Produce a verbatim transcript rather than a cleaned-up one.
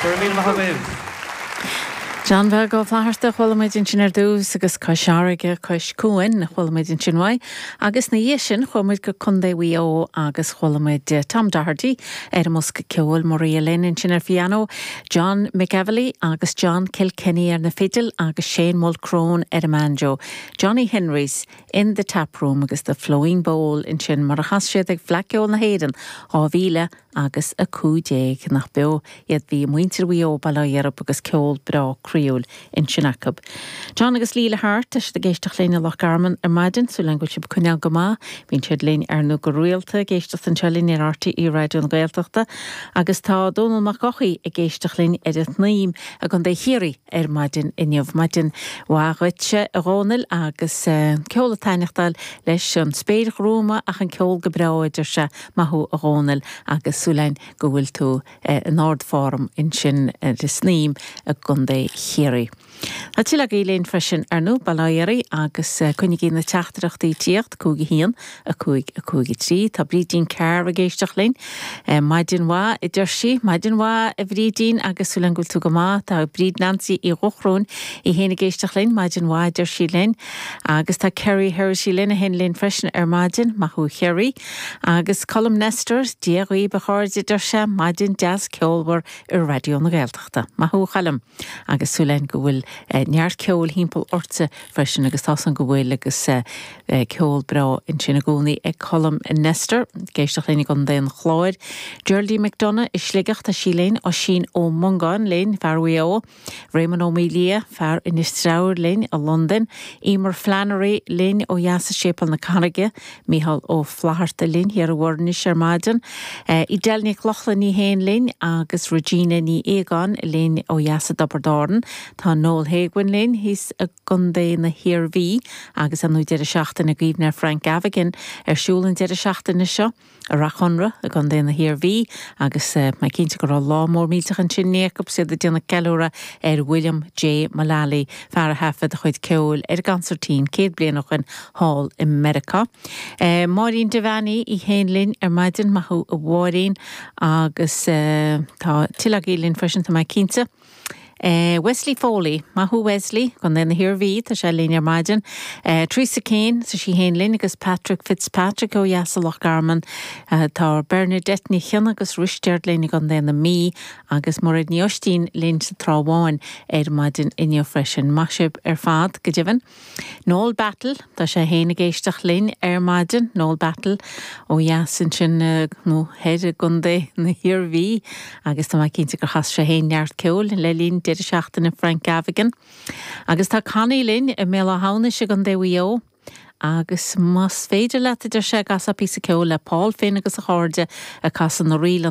Go raibh míle maith agaibh. John Bheag Ó Flatharta chuala muid ansin ar dtús agus Cois Fharraige Cois Cuain chuala muid ansin uaidh, agus ina dhiaidh sin chuaigh muid go Contae Mhaigh Eo agus chuala muid Tom Doherty ar an mbosca ceoil Maria Lynn ansin ar piano, John McEvilly agus John Kilkenny ar na fidil agus Shane Mulcrone ar an banjo. Johnny Henry's in the Tap Room agus the Flowing Bowl ansin mar a chas siad ag Fleadh Cheoil na hÉireann dhá mhíle agus a cúig déag nach beo iad bhí muintir Mhaigh Eo bail ó Dhia orthu agus ceol breá croíúil ansin acu. John agus Leila Hart tá siad ag éisteacht linn i Loch Garman ar maidin súil agam go bhfuil sibh ag coinneáil go maith, bíonn siad linn ar ndóigh go rialta ag éisteacht anseo linn ar RTÉ Raidió na Gaeltachta agus tá Dónal Mac Eochaidh ag éisteacht linn ar an tSnaidhm i gContae Chiarraí ar maidin inniu maidin mhaith dhuitse a Dhónaill agus uh, ceol ag taitneachtáil leis an spéir ghruama ach an ceol go breá deir sé maith thú a Dhónaill agus súil againn go bhfuil tú eh, in ardform ansin ar an tSnaidhm i gContae Chiarraí. Tá tuilleadh agaibh linn freisin ar ndóigh bail ó Dhia oraibh agus eh, coinnígí na teachtaireachtaí ag tíocht cúig a haon a cúig a cúig a trí Tá Brídín Carr ag éisteacht linn eh, Maidin mhaith a deir sí maidin mhaith a Bhrídín agus súil agam go bhfuil tú go maith tá Bríd Nancy Uí Dhochróin í féin ag éisteacht linn maidin mhaith a deir sí linn agus tá Kerry Hersey linn a hen linn freisin ar maidin maith thú Kerry agus Colm Nestor Dia dhaoibh a chairde deir sé maidin deas ceolmhar i Raidió na Gaeltachta. Maith thú a Choilm agus súil againn go bhfuil eh, neart ceoil timpeall ortsa freisin agus tá san go bhfuil agus eh, eh, ceol breá ansin i gcónaí ag Colm Nestor, ag éisteacht linn i gContae an Chláir. Geraldine McDonough i Sligeach tá sí linn Oisín Ó Mongáin linn fear Mhaigh Eo, Raymond Ó Mília fear Inis Treabhair linn i Londain, Emer Flannery linn ó dheas i Séipéal na Carraige, Micheál Ó Flatharta linn thiar i bhFoirnis ar maidin, uh, Edel Nic Lochlainn í féin linn agus Regina Ní Éagáin linn ó dheas i dTiobraid Árann, Tá Noel Haguin linn thíos i gContae na hIarmhí agus an deireadh seachtaine i gcuimhne Frank Gavigan ar siúl an deireadh seachtaine seo i Rath Chonra i gContae na hIarmhí agus uh, mé cinnte go raibh lá mór millteach ansin acu siad ag déanamh ceiliúradh ar William J. Mullally fear a thaifead a chuid ceoil ar gconsairtín céad bliain ó shin thall i Meiriceá. Uh, Máirín Devaney í féin linn ar maidin maith thú a Mháirín agus uh, tá tuilleadh agaibh linn freisin tá mé cinnte. Uh, Wesley Foley, maith thú Wesley, Contae na hIarmhí tá sé linn ar maidin. Uh, Teresa Kane sa sí féin linn agus Patrick Fitzpatrick ó dheas Loch Garman, uh, tá Bernadette Ní Chionnaith agus Risteard linn i gContae na Mí agus Mairéad Ní Oistín linn sa Trá Bháin ar maidin inniu freisin. Maith sibh ar fad go deimhin. Noel Battle Tá sé féin ag éisteacht linn ar maidin Noel Battle ó dheas ansin uh, nó thoir i gContae na hIarmhí agus tá cinnte gur chas sé féin neart ceoil le linn deireadh seachtaine Frank Gavigan. Agus tá Connie linn i mBéal Átha hAmhnais i gContae Mhaigh Eo. agus más féidir le deir sé gasa pí ceol le Paul Finn agus a chairde ag casadh na ríl an